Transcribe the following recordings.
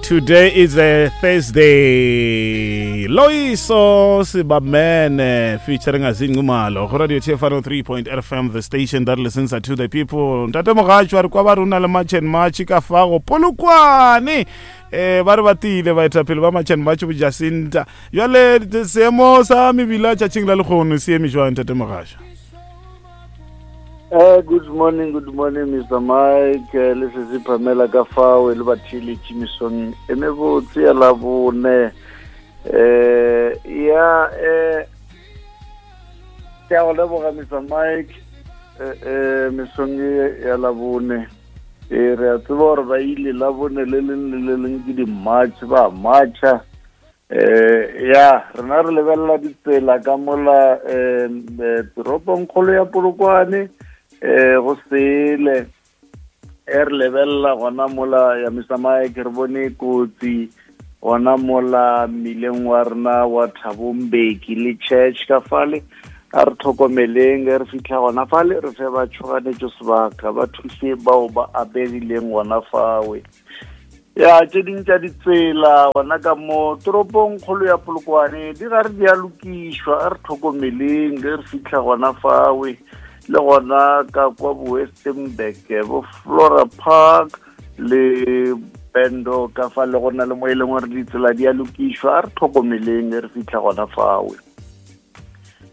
Today is a Thursday. Loiso Sibamene featuring Azingi Nxumalo. Go Radio TFR 3.0 FM, the station that listens to the people. Ntate Mogatšo a re kwa ba rona le March and March ka fa go Polokwane. Eh ba re batile baetapele ba March and March bo Jacinta. Jwale seemo sa mebila tšatšing la lekgono se eme jwang Ntate Mogatšo? Good morning, good morning, Mr. Mike. Le sesi Pamela ka fao le batheeletši mesong e mebotse ya labone. Ya ke a go leboga Mr. Mike mesong e ya labone. Re a tseba gore ba ile labone le leng le le leng ke di-march ba marcha. Eh ya rena re lebelela ditsela ka mola eh toropong kgolo ya Polokwane eh go sele e re lebelela gona mola ya Mr Mike re bone kotsi gona mola mmileng wa rena wa Thabombeki le church ka fale a re tlhokomeleng ge re fitlha gona fale re fe ba tšhoganetšo sebaka ba thuse bao ba abegileng gona fawe. Ya tše ding tša ditsela gona ka mo toropong kgolo ya Polokwane di gare di a lokišwa, a re tlhokomeleng ge re fitlha gona fawe le gona ka kwa bo Westenburg bo Flora Park le Bendo ka fa le gona le mo e leng gore ditsela di a lokišwa, a re tlhokomeleng ge re fitlha gona fawe.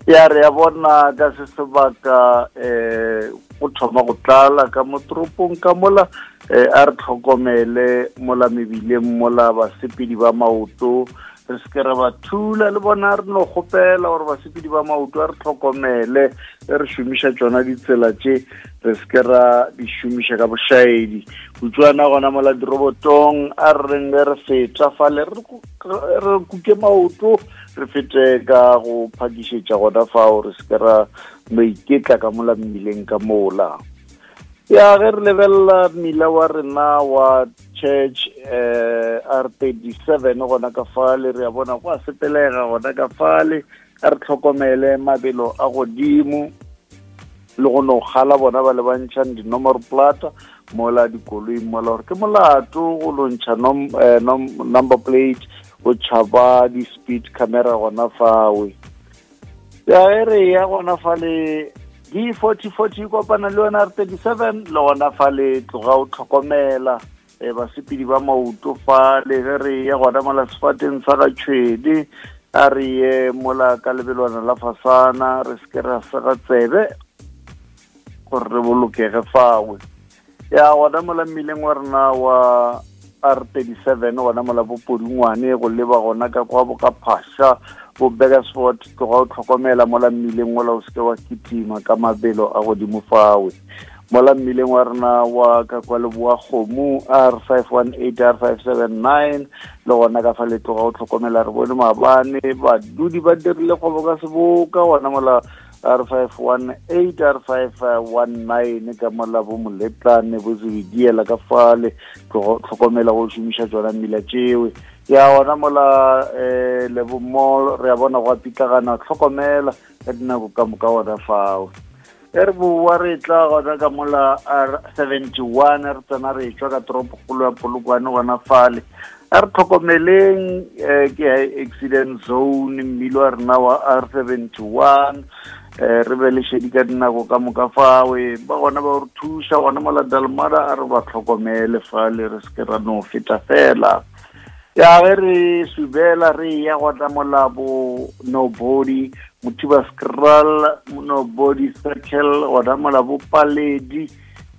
Ya re ya bona ka se sebaka um go thoma go tlala ka mo toropong ka mola um a re tlhokomele mola mebileng mola basepedi ba maoto re se ke ra ba thula le bona re no kgopela gore basepedi ba maoto a re tlhokomele ge re šomiša tšona ditsela tše re se ke ra di šomiša ka bošaedi utswana gona mola dirobotong a re reng ge re feta fale re kuke maoto re fete ka go phakišetša gona fao re se ke ra no iketla ka mola mmileng ka mola. Ya ge re lebelela mmila wa rena wa church eh R37 gona ka fale re a bona go a sepelega gona ka fale a re tlhokomele mabelo a godimo le go no kgala bona ba lebantšhang dinomoro plata mola dikoloi mola gore ke molato go lontšha number plate go tšhaba di-speed camera gona fawe. Ya e re ya gona fale D forty forty kopana le yona R 37 le gona fale tloga o tlhokomela basepedi ba maoto fale ge re ya gona mola sefateng sa ga Tšhwedi a re ye mola ka lebelwana la fasana re se ke ra sega tsebe gore re bolokege fawe. Ya gona mola mmileng wa rena wa R37 gona mola bopodungwane go leba gona ka kwa bo ka Phasha bo Burgersfort tloga o tlhokomela mola mmileng mola o seke wa kitima ka mabelo a godimo fawe. Mola mmileng wa rena wa ka kwa leboa kgomo R518 R579 le gona ka fa le tloga o tlhokomela re bone maabane badudi ba dirile kgwebo ka seboka gona mola R518 R519 ka mola bo moletlane bo sebediela ka fale tlhokomela go šomiša tšona mmila tšewe. Ya gona mola Lebo Mall re a bona go a pitlagana tlhokomela ka dinako ka moka gona fao. E re boa re tla gona ka mola R71 re tsena re tšwa ka toropokgolo ya Polokwane gona fale a re tlhokomeleng ke high accident zone mmilo wa rena wa R71 re be le šedi ka dinako ka moka fawe ba gona ba re thuša gona mola Dalmada a re ba tlhokomele fale re se ke ra no feta fela. Ya ge re subela re ya gona mola bo Nobody Mothiba Skral Nobody Circle gona mola bo Paledi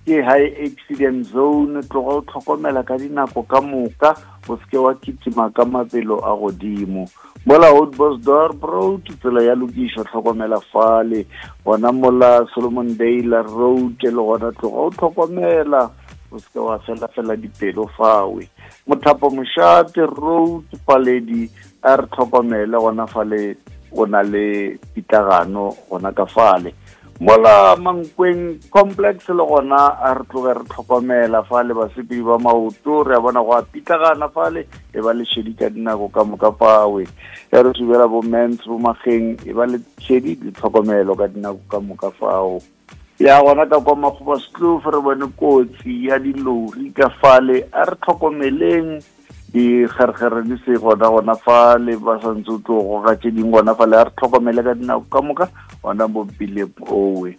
ke high accident zone tloga o tlhokomela ka dinako ka moka o seke wa kitima ka mabelo a godimo. Mola Oudtshoorn Road tsela ya lokišwa tlhokomela fale gona mola Solomon Dale Road le gona tloga o tlhokomela o seke wa fela fela dipelo fawe. Mothapo Mošate Road Paledi a re tlhokomele gona fale o na le pitlagano gona ka fale. Mola Mankweng Complex le gona a re tloge re tlhokomela fale basepedi ba maoto re a bona go a pitlagana fale e ba le šedi ka dinako ka moka fawe. Ya re subela bo mens bo mageng e ba le šedi le tlhokomelo ka dinako ka moka fao. Ya gona ka kwa Makgobaskloof re bone kotsi ya dilori ka fale, a re tlhokomeleng dikgerekgere di se gona gona fale, ba santse o tlo goga tše dingwe gona fale, a re tlhokomele ka dinako ka moka gona mo bileng owe.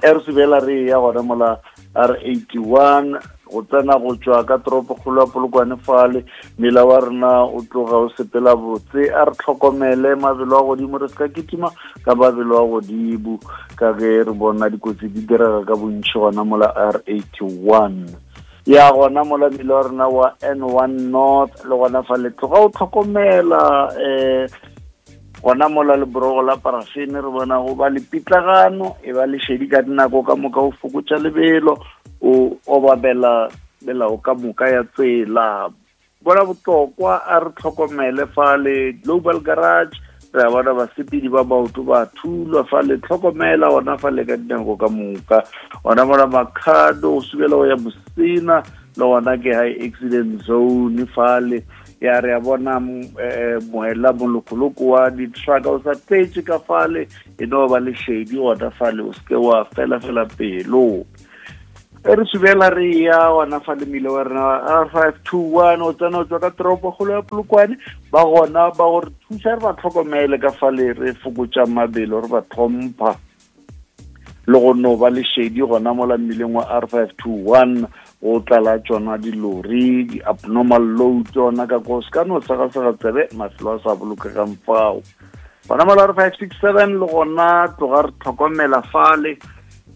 E re sebela re ya gona mola R81 go tsena go tšwa ka toropokgolo ya Polokwane fale, mmila wa rena o tloga o sepela botse, a re tlhokomele mabelo a godimo, re se ka kitima ka mabelo a godimo ka ge re bona dikotsi di direga ka bontši gona mola R81. Ya gona mola mmila wa rena wa N1 North le gona fale tloga o tlhokomela um gona mola leborogo la parafene re bona go ba le pitlagano, e ba lešedi ka dinako ka moka, o fokotša lebelo, o obamela melao ka moka ya tsela. Bona botlokwa, a re tlhokomele fale Global Garage, re a bona basepedi ba maoto ba thulwa fale, tlhokomela gona fale ka dinako ka moka. Gona mola Makhado o subela go ya Mosina, le gona ke high accident zone fale. Ya re a bona moela molokoloko wa di-truck o sa tletše ka fale, e no ba lešedi gona fale, o seke wa fela fela pelo. E re subela re ya gona fale mmile wa rena R521 o tsena o tswa ka toropo kgolo ya Polokwane, ba gona ba gore thusa re ba tlhokomele ka fale, re fokotša mabelo, re ba tlhompha le go no ba lešedi gona mola mmileng wa R521 go tlala tšona dilori, di-abnormal load tsona ka ko se ka no segasega tsebe, mafelo a sa bolokegang fao. Gona mola R567 le gona tloga re tlhokomela fale,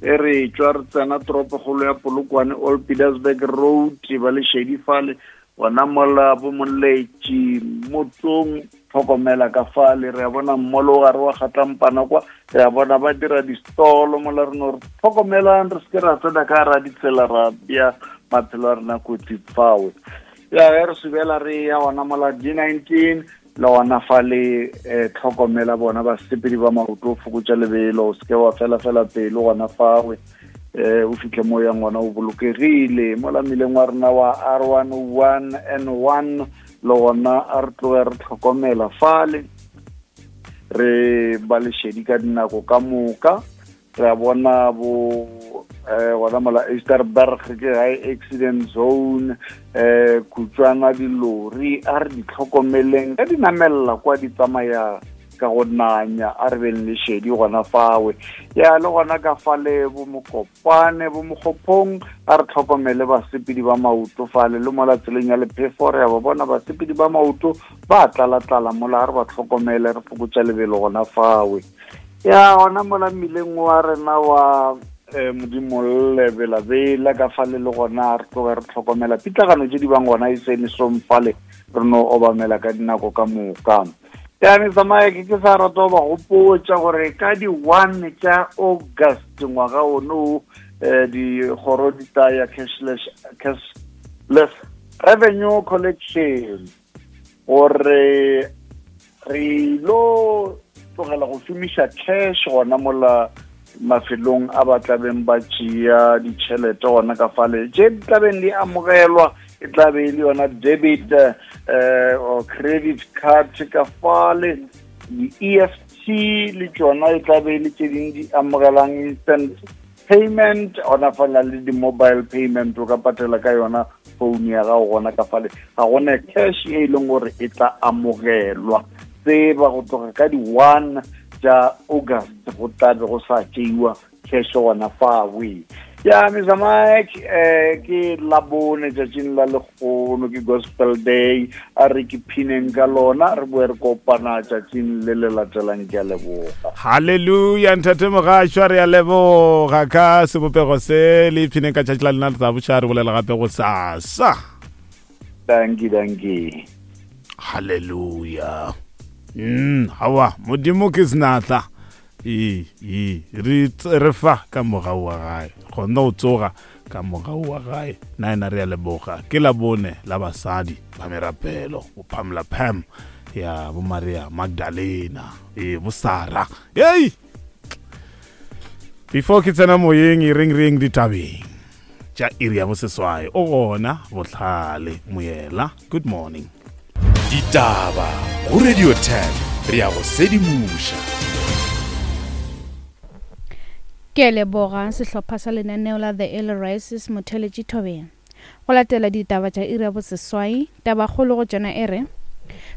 e re tšwa re tsena toropokgolo ya Polokwane, Old Pietersburg Road, ba lešedi fale gona mola bo Moletši Motsong, tlhokomela ka fale. Re a bona mmolo o gare wa kgatlampana kwa, re a bona ba dira distolo mola, re no re tlhokomelang re seke ra tsena ka ra ditsela ra bea maphelo a rena kotsi fawe. Ya ge re subela re ya gona mola D19 le gona fale, tlhokomela bona basepedi ba maoto, o fokotša lebelo, o seke wa fela fela pelo gona fawe, o fitlhe mo yang gona o bolokegile. Mola mmileng wa rena wa R101 N1 le gona a re tloge re tlhokomela fale, re ba lešedi ka dinako ka moka. Re a bona bo gona mola Easterberg ke high accident zone, khutswana dilori a re di tlhokomeleng ka di namelela kwa di tsamaya ka go nanya, a re beng lešedi gona fawe. Ya le gona ka fale bo Mokopane bo Mokgophong, a re tlhokomele basepedi ba maoto fale, le mola tseleng ya lephefo re a ba bona basepedi ba maoto ba tlala-tlala mola, a re ba tlhokomele re fokotša lebelo gona fawe. Ya gona mola mmileng wa rena wa Modimolle Belabela ka fale le gona re tloge re tlhokomela pitlagano tše di bang gona e se mesong fale, re no obamela ka dinako ka moka. Ya Mr Mike, ke sa rata go ba gopotša gore ka di-1 tša August ngwaga ono dikgoro di tla ya cashless revenue collection, gore re lo tlogela go šomiša cash gona mola mafelong a ba tlabeng ba tšea ditšhelete gona ka fale, tše di tlabeng di amogelwa e tla be e le yona debit or credit card ka fale, di-EFT le tšona e tla be e le tše dingwe di amogelang instant payment gona fana le di-mobile payment, o ka patela ka yona phone ya gago gona ka fale, ga gona cash e leng gore e tla amogelwa. Tseba go tloga ka di-1 tša August go tla be go sa tšeiwa cash gona fawe. Ya Mr Mike, ke labone tšatšing la lekgono, ke Gospel Day, a re ke phineng ka lona, re boe re kopana tšatšing le le latelang. Ke a leboga. Halleluja ntate Mogašwa, re a leboga ka sebopego se le iphineng ka tšatši la lena, re tla boša re bolela gape go sasa. Danki, danki. Halleluja. Awa modimo ke senatla, ee re fa ka mogau wa gae, kgona go tsoga ka mogau wa gae. Na ena re a leboga, ke la bone la basadi ba merapelo, bo Pamela Pam ya bo Maria Magdalena, ee bo Sara. Ei, before ke tsena moyeng e reng reng ditabeng tša iri ya boseswai, o gona Bohlale Moyela. Good morning. Ditaba go Radio 10, re ya go sedimoša. Ke a leboga sehlopha sa lenaneo la The Early Rises Motheletši Thobeng. Go latela ditaba tša iri ya boseswai, tabakgolo go tšona e re,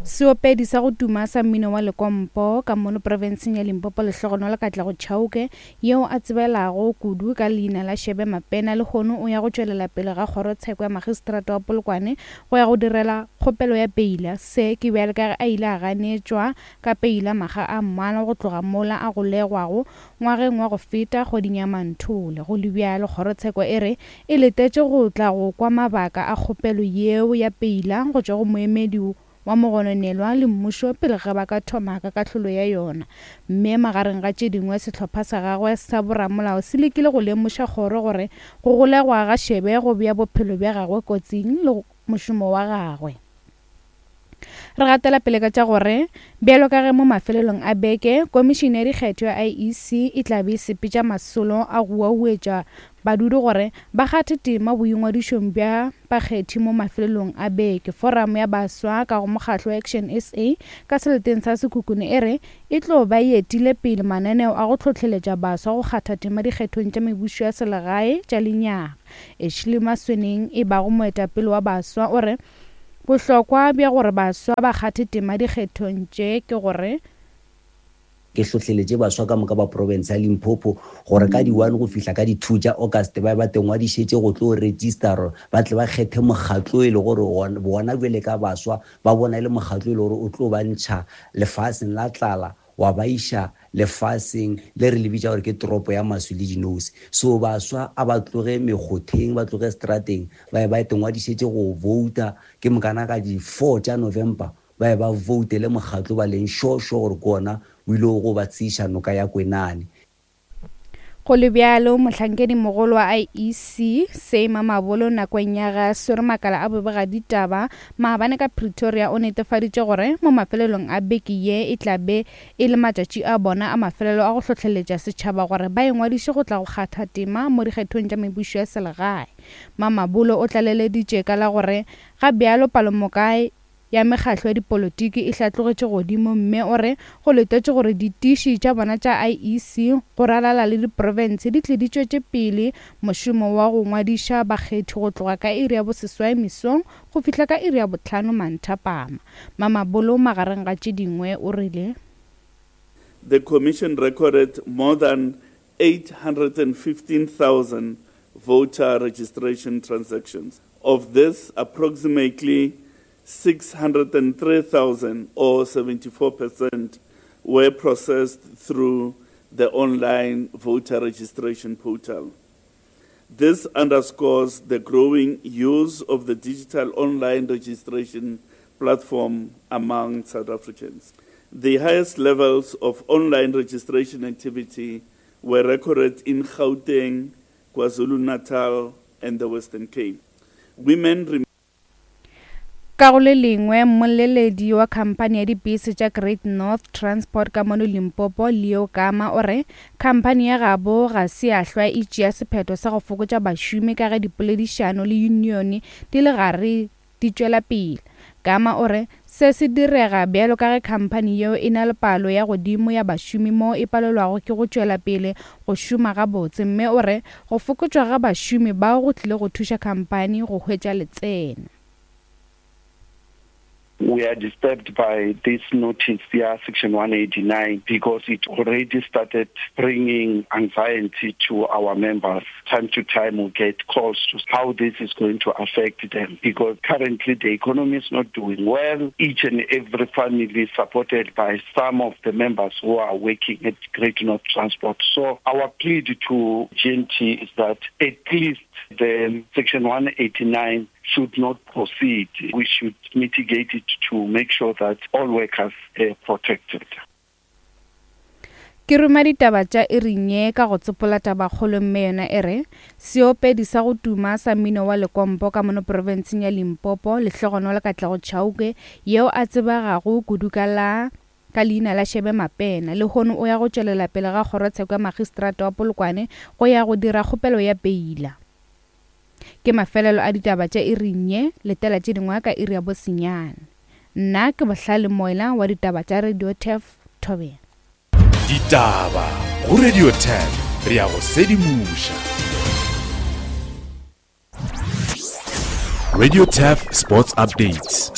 Seopedi sa go tuma sa mmino wa lekompo ka mono profenseng ya Limpopo Lehlogonolo Katlego Chauke yeo a tsebelago kudu ka leina la Shebe Mapena lehono o ya go tšwelela pele ga kgorotsheko ya magistrata wa Polokwane go ya go direla kgopelo ya peila. Se ke bjale ka ge a ile a ganetšwa ka peila makga a mmalwa go tloga mola a golegwago ngwageng wa go feta kgweding ya Manthole. Go le bjalo, kgorotsheko e re e letetše go tla go kwa mabaka a kgopelo yeo ya peila go tšwa go moemedi wa mogononelwa le mmušo pele ga ba ka thoma ka kahlolo ya yona. Mme magareng ga tše dingwe sehlopha sa gagwe sa boramolao se lekile go lemoša kgoro gore go golegwa ga Shebe go bea bophelo bja gagwe kotsing le mošomo wa gagwe. Re gatela pele ka tša gore bjalo ka ge mo mafelelong a beke Komišene ya Dikgetho ya IEC e tla be e sepetša masolo a go uauetša badudi gore ba kgathe tema boingwadišong bja bakgethi mo mafelelong a beke, Foramo ya Baswa ka go mokgatlo wa Action SA ka seleteng sa Sekhukhune e re e tlo ba e etile pele mananeo a go hlohleletša baswa go kgatha tema dikgethong tša mebušo ya selegae tša lenyaga. Ashley Masweneng e bago moetapele wa baswa o re Bohlokwa bja gore baswa ba kgathe tema dikgethong tše ke gore. Ke hlohleletše baswa ka moka ba profense ya Limpopo gore ka di one go fihla ka di two tša August ba be ba tengwadišetše go tlo registera ba tle ba kgethe mokgatlo e le gore bona bjale ka baswa ba bona e le mokgatlo e le gore o tlo ba ntšha lefaseng la tlala wa ba iša lefaseng le re le bitša gore ke toropo ya maswi le dinose. So baswa a ba tloge mekgotheng, ba tloge strateng, ba ye ba itengwadišetše go vouta, ke mokana ka di four tša November ba ye ba voutele mokgatlo ba leng sure sure gore ke wona o ile go ba tseiša noka ya Kwenane. Go le bjalo, mohlankedimogolo wa IEC, Sy Mamabolo nakong ya ge a swere makala a bobegaditaba maabane ka Pretoria o netefaditše gore mo mafelelong a beke ye e tla be e le matšatši a bona a mafelelo a go hlohleletša setšhaba gore ba ingwadiše go tla go kgatha tema mo dikgethong tša mebušo ya selegae. Mamabolo o tlaleleditše ka la gore ga bjalo palomoka ya mekgatlo ya dipolotiki e hlatlogetše godimo mme o re go letetšwe gore ditiši tša bona tša IEC go ralala le diprofense di tle di tšwetše pele mošomo wa go ngwadiša bakgethi go tloga ka iri ya boseswai mesong go fihla ka iri ya bohlano manthapama. Mamabolo magareng ga tše dingwe o rile. The commission recorded more than 815,000 voter registration transactions. Of this, approximately 603,000 or 74% were processed through the online voter registration portal. This underscores the growing use of the digital online registration platform among South Africans. The highest levels of online registration activity were recorded in Gauteng, KwaZulu-Natal, and the Western Cape. Women Ka go le lengwe, mmoleledi wa khamphani ya dipese tša Great North Transport ka mono Limpopo, Leo Gama, o re khamphani ya gabo ga se ya hlwa e tšea sephetho sa go fokotša bašomi ka ge dipoledišano le yunione di le gare di tšwela pele. Gama o re se se direga bjalo ka ge khamphani yeo e na le palo ya godimo ya bašomi moo e palelwago ke go tšwela pele go šoma gabotse mme o re go fokotšwa ga bašomi bao go tlile go thuša khamphani go hwetša letseno. We are disturbed by this notice ya section 189 because it already started bringing anxiety to our members. Time to time we get calls to how this is going to affect them because currently the economy is not doing well. Each and every family is supported by some of the members who are working at Great North Transport. So our plea to GNT is that at least the section 189 should not proceed. We should mitigate it to make sure that all workers are protected. Ke ruma ditaba tša iring ye ka go tsopola tabakgolo mme yona e re, Seopedi sa go tuma sa mmino wa lekompo ka mono profenseng ya Limpopo, Lehlogonolo Katlego Chauke, yeo a tsebegago kudu ka la ka leina la Shebe Mapena, lehono o ya go tšwelela pele ga kgorotsheko ya magistrata wa Polokwane go ya go dira kgopelo ya peila. Ke mafelelo a ditaba tša iring ye, letela tše dingwe ka iri ya bo senyane. Nna ke Bohlale Moila wa ditaba tša Radio Turf, Thobela. Ditaba go Radio Turf. Re ya go sedimoša. Radio Turf Sports Updates.